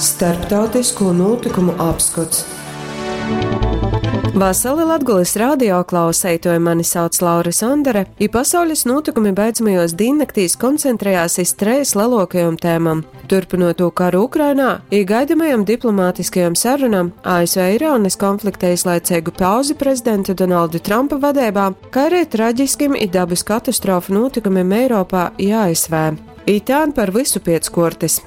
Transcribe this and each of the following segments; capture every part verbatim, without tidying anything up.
Starptautisko nūtykumu apskots. Vasali Latgolys radio klauseituoji, mani sauc Laura Sondere, i pasaulis nūtykumi beidzamajos dīnnaktīs koncentrējās iz treis leluokajom tēmom. Turpynot karu Ukrainā i gaidamajom diplomātiskajom sarunām A S V Irānys konflikta īslaiceigu pauzi prezidenta Donalda Trumpa vadeibā, kā arī traģiskim i dabas katastrofu nūtikumiem Eiropā i A S V. I tā par visu piec kuortys.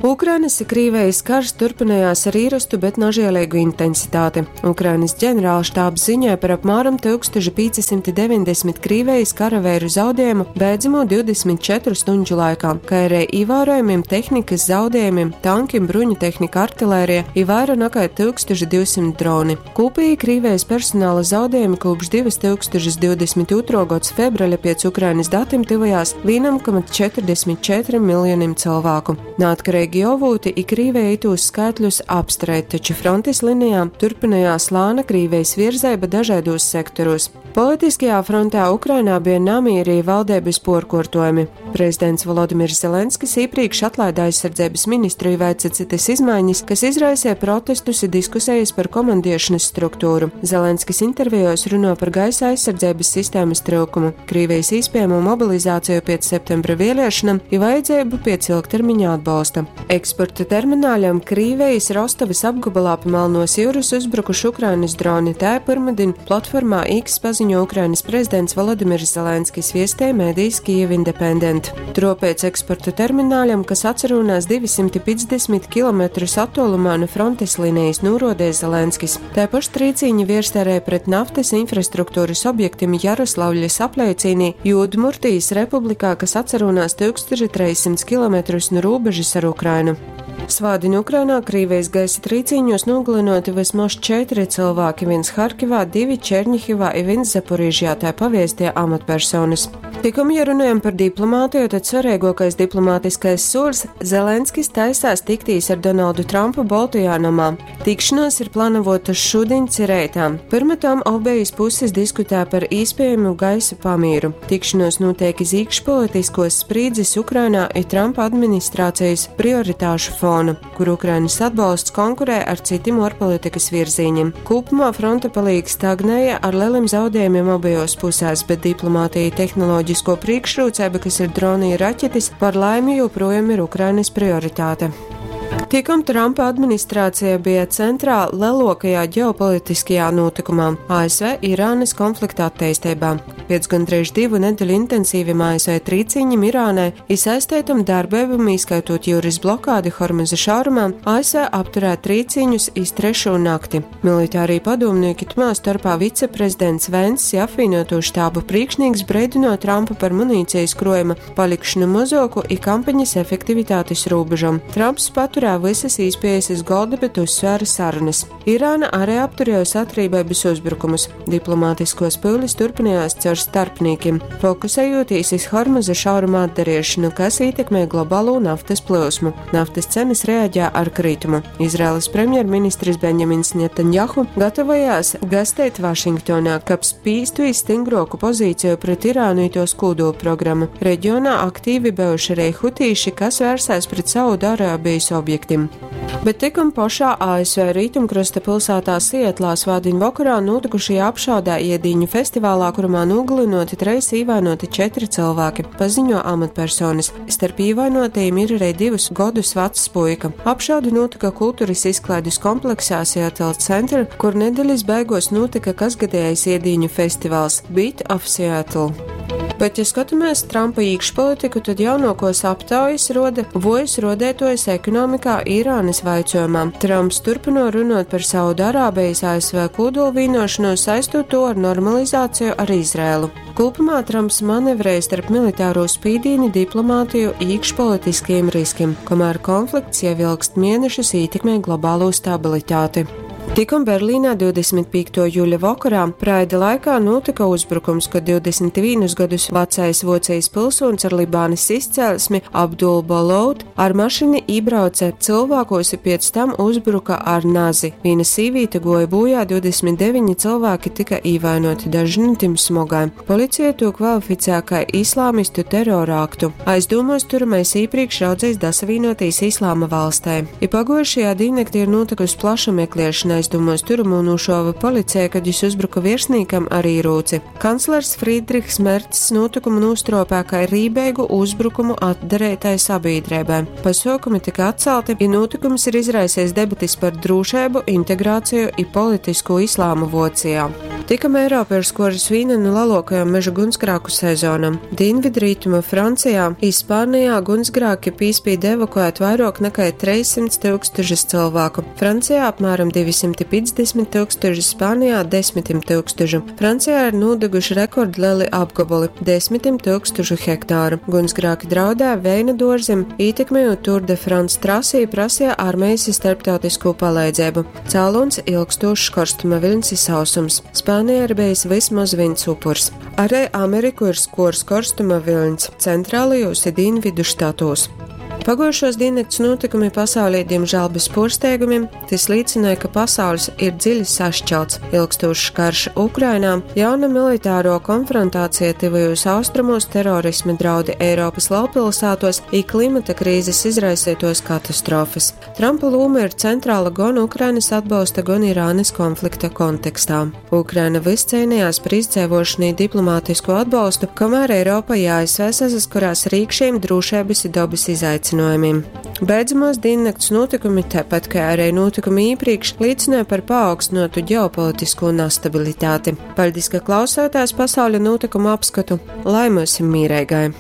Ukrainas i Krīvejis karš turpinājās ar īrostu, bet nažielīgu intensitāti. Ukrainas ģenerālštābs ziņoja par apmēram tūkstoš piecsimt deviņdesmit Krīvejis karaveiru zaudējumu beidzamo divdesmit četru stundu laikā, kā arī ievērojamiem tehnikas zaudējumiem, tankiem, bruņu tehnika, artilērija i vairāk nekā tūkstoš divsimt droni. Kopīgi Krīvejis personāla zaudējumi kopš divtūkstoš divdesmit otrā gads februāra pēc Ukrainas datiem tuvojās viens komats četrdesmit četri miljoniem cilvēku. Neatkarīgi avūti i Krīveja itūs skaitļus apstreit, taču frontes linijā turpinājās lāna Krīvejas virzeiba dažādos sektoros. Politiskajā frontē Ukrainā bija namīri valdības porkortojumi. Prezidents Volodimirs Zelenskis iepriekš atlaida aizsardzības ministru i veica citas izmaiņas, kas izraisīja protestus i diskusijas par komandiešanas struktūru. Zelenskis intervijos runo par gaisa aizsardzības sistēmas trūkumu, Krīvijas iespējamo mobilizāciju pēc septembra vēlēšanām i vajadzību pēc ilgtermiņa atbalsta. Eksporta termināļam Krīvijas Rostovas apgabalā pa Melnos jūras uzbrukuši Ukrainas droni. Tā pirmdien platformā X paziņo Ukrainas prezidents Volodimirs Zelenskis, viestēja mēdījis Kiev Independent. Tropēc eksporta termināļam, kas atsarūnās divsimt piecdesmit kilometrus attālumā no frontes līnijas, norodēja Zelenskis. Tāpaši trīcīņi vierstērē pret naftas infrastruktūras objektiem Jaroslavļas apleicīnī Udmurtijas republikā, kas atsarūnās tūkstoš trīssimt kilometrus no robežas ar Ukrainu. Svādiņ Ukrainā Krīvijas gaisa trīcīņos nogalinoti vismaz četri cilvēki, viens Harkivā, divi Černihivā i viens Zaporižjā, tā paviestie amatpersonas. Tikom, ja runājam par diplomātiju, tad svarīgākais diplomātiskais solis – Zelenskis taisās tiktīs ar Donaldu Trumpu Boltajā namā. Tikšanās ir plānota šodien ci reitā. Pirma tam obejas puses diskutē par iespējamu gaisa pamīru. Tikšanos notiek iz iekšpolitiskos sprīdzes Ukrainā i Trumpa administrācijas prioritāšu fona, kur Ukrainas atbalsts konkurē ar citiem ārpolitikas virzīņiem. Kopumā fronte palīk stagnēja ar lieliem zaudējumiem abajos pusēs, bet diplomātija, tehnoloģisko priekšrocība, kas ir droni i raķetes, par laimi joprojām ir Ukrainas prioritāte. Tikom Trumpa administrācija bija centrā lielākajā ģeopolitiskajā notikumā – A S V Irānas konflikta attīstībā. Pēc gandrīz divu nedēļu intensīviem A S V trīciņiem Irānai i saistētam darbībām, ieskaitot jūras blokādi Hormuza šaurumā, A S V apturēja trīciņus iz trešo nakti. Militārī padomnieki, tmā starpā viceprezidents Venss i apvienoto štābu priekšnieks, breidino Trumpu par munīcijas krojuma palikšanu mozoku i kampaņas efektivitātes robežam. Trumps paturēja visas īspējas iz golda, bet uzsvēra sarunas. Irāna arī apturējusi atrībības uzbrukumus. Diplomātiskos pūlis turpinājās caur starpniekiem, fokusējoties iz Hormuza šauruma atdariešanu, kas ietekmē globālo naftas plūsmu. Naftas cenas reaģē ar kritumu. Izraēlas premjerministrs Benjamins Netanjahu gatavojās gastēt Vašingtonā, kab spīstu iz stingroku pozīciju pret Irānu i tos kodolprogrammu. Reģionā aktīvi bijuši arī hutīši, kas vērsās pret Saudārābijas objektiem. Bet tikum pašā A S V rietumkrasta pilsētā Sietlā svādiņu vakarā notikušajā apšaudē iedīņu festivālā, kurumā nogalinoti treis, īvainoti četri cilvēki, paziņo amatpersonas. Starp īvainotajiem ir arī divus gadus vecs puika. Apšaude notika kultūras izklaides kompleksā Seattle Center, kur nedēļas beigos notika kasgadējais iedīņu festivāls Beat of Seattle. Bet, ja skatāmies Trumpa iekšpolitiku, tad jaunākos aptaujas roda vojas rodētojas ekonomikā Irānas vaicojumā. Trumps turpino runāt par Saudārābijas A S V kodolvīnošanos, saistot to ar normalizāciju ar Izrēlu. Kopumā Trumps manevrēja starp militāro spīdīni, diplomātiju, iekšpolitiskiem riskiem, kamēr konflikts jau ilgst mēnešus ietekmē globālo stabilitāti. Tikom Berlīnā divdesmit pīktuo juļa vokorā Praida laikā notika uzbrukums, kad divdesmit vienus gadus vecais Vocijas pilsonis ar Libānas izcelsmi Abdul Balout ar mašini iebrauca cilvēkos i pēc tam uzbruka ar nazi. Viena sīvīte goja bojā, divdesmit deviņi cilvēki tika īvainoti, daži no tiem smogai. Policija to kvalificē kā islāmistu terora aktu. Aizdomos turamais īpriekš raudzējis dasavīnotīs Islāma valstē. I pagojušajā dīnnaktī ir notikusi plaša meklēšana, aizdomos turamo nošāva policija, kad jis uzbruka virsniekam ar ierūci. Kanclers Friedrichs Mercs notikumu nostropē kā rībeigu uzbrukumu atdarētai sabiedrībai. Pasākumi tika atcelti, ja notikums ir izraisījis debatis par drošību, integrāciju i politisko islāmu Vocijā. Tikam Eiropa ir skoris viena no lielākajām meža gunsgrāku sezonam. Dienvidrītuma Francijā, Ispānijā gunsgrāki pīspīd evakuēt vairāk nekā trīs simti tūkstošus cilvēku. Francijā apmēram divsimt piecdesmit tūkstoši, Spānijā desmitim tūkstošu. Francijā ir nodeguši rekordlieli apgabali - desmitim tūkstošu hektāru. Gunsgrāki draudē veina dārzim, ietekmējot Tour de France trasī, prasīja armijas starptautisko palīdzību. Cēlons ilgstošs karstuma viļņs i sausums. Spānijā ir bijis vismaz viens upurs. Arī Ameriku ir skors karstuma viļņs centrālajos i dienvidu štatos. Paguojušos diennakts notikumi pasaulē, diemžēl bez porsteigumiem, tas liecināja, ka pasaules ir dziļi sašķelts. Ilgstošs karš Ukrainā, jauna militāro konfrontācija tuvajos austrumos, terorisma draudi Eiropas lielpilsētos i klimata krīzes izraisītos katastrofas. Trumpa loma ir centrāla gan Ukrainas atbalsta, gan Irānas konflikta kontekstā. Ukraina vis cīnījās par izdzīvošanu i diplomātisko atbalstu, kamēr Eiropa i A S V saskarās ar īkšējiem drošības i dobas izaicinājumiem. Beidzamos diennakts notikumi, tāpat kā arī notikumi iepriekš, liecināja par paaugstinātu ģeopolitisko nestabilitāti. Paldies, ka klausāties pasaules notikumu apskatu, lai mums ir mīrēgai!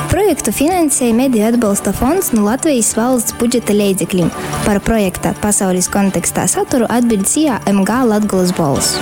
Projektu finansēja Mediju atbalsta fonds no Latvijas valsts budžeta leidzekļiem. Par projekta pasaules kontekstā saturu atbild S I A M G Latgolas Bolss.